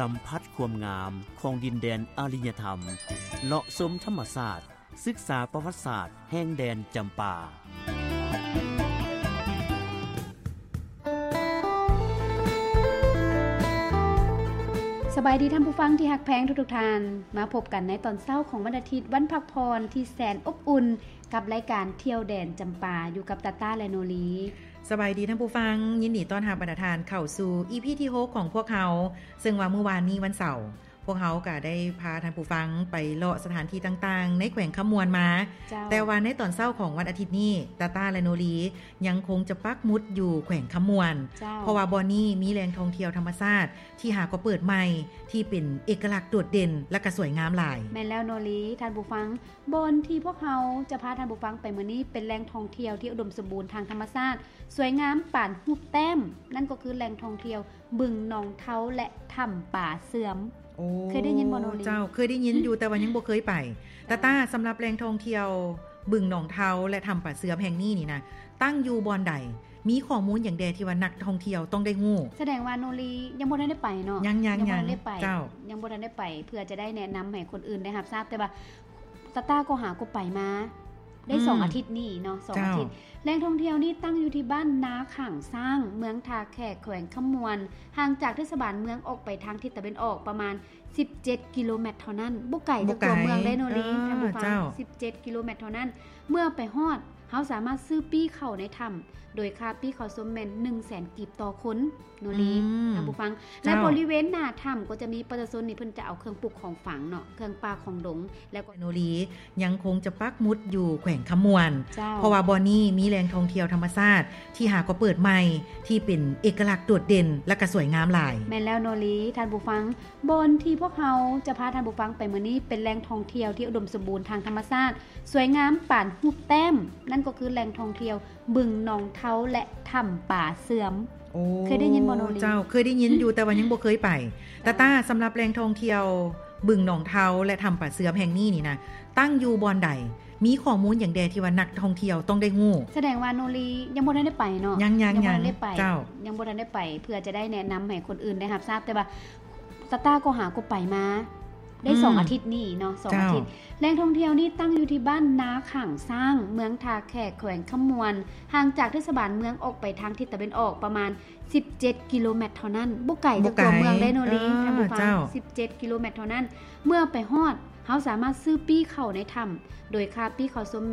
ສຳຜັດຄວາມງາມຂອງດິນແດນອາລິຍະທຳ, ເລາະຊົມທຳມະຊາດ, ສຶກສາປະຫວັດສາດແຫ່ງແດນຈຳປາ. ສະບາຍດີທ່ານຜູ້ຟັງທີ່ຮັກແພງທຸກໆທ່ານ, ມາພົບກັນໃນຕອນເຊົ້າຂອງວັນອາທິດ, ວັນພັກຜ່ອນທີ່ແສນອົບອຸ່ນ ກັບລາຍການທ່ຽວແດນຈຳປາ ຢູ່ກັບຕາຕ້າ ແລະ ໂນລີ. ສະບາຍດີທ່ານຜູ້ຟັງ, ຍິນດີຕ້ອນຮັບບັນດາທ່ານເຂົ້າສູ່ ອີ ພີ ທີ ຫົກ ຂອງພວກເຮົາ, ເຊິ່ງວ່າມື້ວານນີ້ວັນເສົາ ພວກເຮົາກໍໄດ້ພາທ່ານຜູ້ຟັງໄປເລາະສະຖານທີ່ຕ່າງໆໃນແຂວງຄຳມ່ວນມາ. ເຈົ້າ. ແຕ່ວ່າໃນຕອນເຊົ້າຂອງວັນອາທິດນີ້, ຕາຕ້າ ແລະ ໂນລີ ຍັງຄົງຈະປັກໝຸດຢູ່ແຂວງຄຳມ່ວນ. ເຈົ້າ. ເພາະວ່າບ່ອນນີ້ມີແຫຼ່ງທ່ອງທ່ຽວທຳມະຊາດທີ່ຫາກໍເປີດໃໝ່ ທີ່ເປັນເອກະລັກໂດດເດັ່ນ ແລະ ກໍສວຍງາມຫຼາຍ. ແມ່ນແລ້ວໂນລີ, ທ່ານຜູ້ຟັງ, ບ່ອນທີ່ພວກເຮົາຈະພາທ່ານຜູ້ຟັງໄປມື້ນີ້ ເປັນແຫຼ່ງທ່ອງທ່ຽວທີ່ອຸດົມສົມບູນທາງທຳມະຊາດ, ສວຍງາມປານຮູບແຕ້ມ, ນັ້ນກໍຄືແຫຼ່ງທ່ອງທ່ຽວບຶງໜອງເທົາ ແລະ ຖ້ຳປາເຊື່ອມ. ໂອ້ ເຄີຍໄດ້ຍິນບໍ່ໂນລີ? ເຈົ້າ, ເຄີຍໄດ້ຍິນຢູ່ ແຕ່ວ່າຍັງບໍ່ເຄີຍໄປ. ຕາຕ້າ, ສຳລັບແຫຼ່ງທ່ອງທ່ຽວບຶງໜອງເທົາ ແລະ ຖ້ຳປາເຊື່ອມແຫ່ງນີ້ນີ້ນະ, ຕັ້ງຢູ່ບ່ອນໃດ? ມີຂໍ້ມູນຫຍັງແດ່ທີ່ວ່ານັກທ່ອງທ່ຽວຕ້ອງໄດ້ຮູ້? ສະແດງວ່າໂນລີຍັງບໍ່ທັນໄດ້ໄປເນາະ? ຍັງ, ຍັງ, ຍັງບໍ່ທັນໄດ້ໄປ. ເຈົ້າ. ຍັງບໍ່ທັນໄດ້ໄປ ເພື່ອຈະໄດ້ແນະນຳໃຫ້ຄົນອື່ນໄດ້ຮັບຊາບ, ແຕ່ວ່າ ຕາຕ້າກໍຫາກໍໄປມາໄດ້ ອືມ ສອງອາທິດນີ້ເນາະ, ສອງອາທິດ. ເຈົ້າ. ແຫຼ່ງທ່ອງທ່ຽວນີ້ຕັ້ງຢູ່ທີ່ບ້ານນາຂ້າງຊ້າງ, ເມືອງທ່າແຂກ, ແຂວງຄຳມ່ວນ, ຫ່າງຈາກເທດສະບານເມືອງອອກໄປທາງທິດຕາເວັນອອກປະມານສິບເຈັດກິໂລແມັດເທົ່ານັ້ນ. ບໍ່ໄກຈາກຕົວເມືອງເດ້ໂນລີ, ເອີ ທ່ານຜູ້ຟັງ. ເຈົ້າ. ສິບເຈັດກິໂລແມັດເທົ່ານັ້ນ. ເມື່ອໄປຮອດ, ເຮົາສາມາດຊື້ປີ້ເຂົ້າໃນຖ້ຳ ໂດຍຄ່າປີ້ເຂົ້າຊົມແມ່ນໜຶ່ງແສນກີບຕໍ່ຄົນ. ໂນລີ ອືມ ທ່ານຜູ້ຟັງ. ເຈົ້າ. ແລະ ບໍລິເວນໜ້າຖ້ຳກໍຈະມີປະຊາຊົນນີ້ ເພິ່ນຈະເອົາເຄື່ອງປຸກຂອງຝັງເນາະ, ເຄື່ອງປ່າຂອງດົງ ແລ້ວກໍ ໂນລີ ຍັງຄົງຈະປັກໝຸດຢູ່ແຂວງຄຳມ່ວນ. ເຈົ້າ. ເພາະວ່າບ່ອນນີ້ມີແຫຼ່ງທ່ອງທ່ຽວທຳມະຊາດທີ່ຫາກໍເປີດໃໝ່ ທີ່ເປັນເອກະລັກໂດດເດັ່ນ ແລະ ກໍສວຍງາມຫຼາຍ. ແມ່ນແລ້ວໂນລີ, ທ່ານຜູ້ຟັງ, ບ່ອນທີ່ພວກເຮົາຈະພາທ່ານຜູ້ຟັງໄປມື້ນີ້ ເປັນແຫຼ່ງທ່ອງທ່ຽວທີ່ອຸດົມສົມບູນທາງທຳມະຊາດ, ສວຍງາມປານຮູບແຕ້ມ, ນັ້ນກໍຄືແຫຼ່ງທ່ອງທ່ຽວ ບຶງໜອງເທົາ ແລະ ຖ້ຳປາເຊື່ອມ. ໂອ້ ເຄີຍໄດ້ຍິນບໍ່ໂນລີ? ເຈົ້າ, ເຄີຍໄດ້ຍິນຢູ່ ແຕ່ວ່າຍັງບໍ່ເຄີຍໄປ. ເຈົ້າ. ຕາຕ້າ, ສຳລັບແຫຼ່ງທ່ອງທ່ຽວບຶງໜອງເທົາ ແລະ ຖ້ຳປາເຊື່ອມແຫ່ງນີ້ນີ້ນະ, ຕັ້ງຢູ່ບ່ອນໃດ? ມີຂໍ້ມູນຫຍັງແດ່ທີ່ວ່ານັກທ່ອງທ່ຽວຕ້ອງໄດ້ຮູ້? ສະແດງວ່າໂນລີຍັງບໍ່ທັນໄດ້ໄປເນາະ? ຍັງ, ຍັງ, ຍັງບໍ່ທັນໄດ້ໄປ. ເຈົ້າ. ຍັງບໍ່ທັນໄດ້ໄປ ເພື່ອຈະໄດ້ແນະນຳໃຫ້ຄົນອື່ນໄດ້ຮັບຊາບ, ແຕ່ວ່າ ຕາຕ້າກໍຫາກໍໄປມາໄດ້ ອືມ ສອງອາທິດນີ້ເນາະ, ສອງອາທິດ. ເຈົ້າ. ແຫຼ່ງທ່ອງທ່ຽວນີ້ຕັ້ງຢູ່ທີ່ບ້ານນາຂ້າງຊ້າງ, ເມືອງທ່າແຂກ, ແຂວງຄຳມ່ວນ, ຫ່າງຈາກເທດສະບານເມືອງອອກໄປທາງທິດຕາເວັນອອກປະມານສິບເຈັດກິໂລແມັດເທົ່ານັ້ນ. ບໍ່ໄກຈາກຕົວເມືອງເດ້ໂນລີ, ເອີ ທ່ານຜູ້ຟັງ. ເຈົ້າ. ສິບເຈັດກິໂລແມັດເທົ່ານັ້ນ. ເມື່ອໄປຮອດ, ເຮົາສາມາດຊື້ປີ້ເຂົ້າໃນຖ້ຳ ໂດຍຄ່າປີ້ເຂົ້າຊົມແມ່ນ